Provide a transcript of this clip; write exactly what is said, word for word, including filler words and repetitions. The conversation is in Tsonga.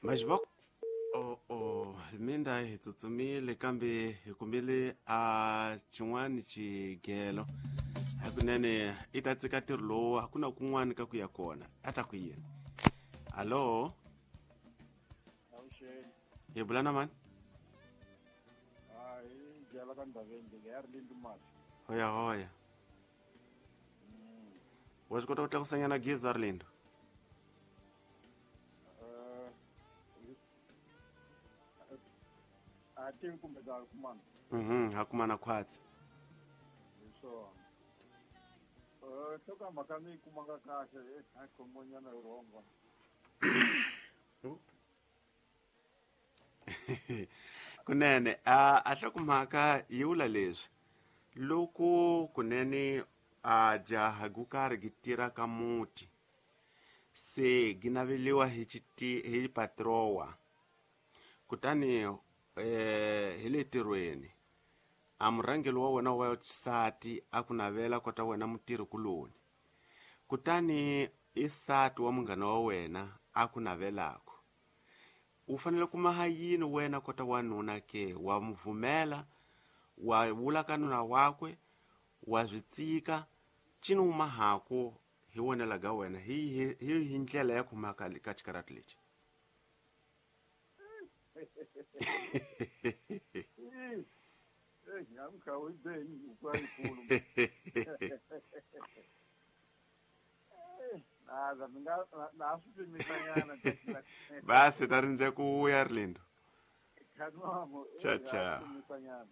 Mas va oh oh minda hi tsutsumile kambe hi kumile a xin'wani xigelo hakunene i ta tsika ntirho lowu a ku na kun'wani ka ku ya kona a ta ku yini. Hallo, Avuxeni. Hi bula na mani? Hayi, byala ka ndhaveni leyi ya ri lindi mati. Hoya hoya, wa swi kota ku tlakusanyana gezi Arlindo? Eh, a tivi kumbe ta kumana. Mhm, ha kumana khwatsi. Hi swona. Eh, nhlokomhaka ni yi kumanga kahle, eh, a khomonyana hi rhongo. Kunene a a hlokomhaka yi vula leswi loko kunene a jaha ku karhi gi tirha ka muti se gi naveliwa hi xiti hi patrowa kutani eh hi le tirhweni a murhangeri wa wena wa xisati a ku navela kota wena mutirhi kuloni kutani i sati wa munghana wa wena a ku navelako u fanele ku maha yini wena kota wanuna ke wa mu vumela wa vula ka nuna wakwe wa swi tsika cini u mahaku hi wonela ga wena hi hi hi hi ndlela ya ku maka ka xikarati lexi. Eh, eh, namuntlha u yi be hi huku yikulu. Eh, na ni nga na ha swi pimisanyana. Basi ta rindze ku vuya Arlindo. Khanwamo, Cha eh, ha cha. swi pimisanyana.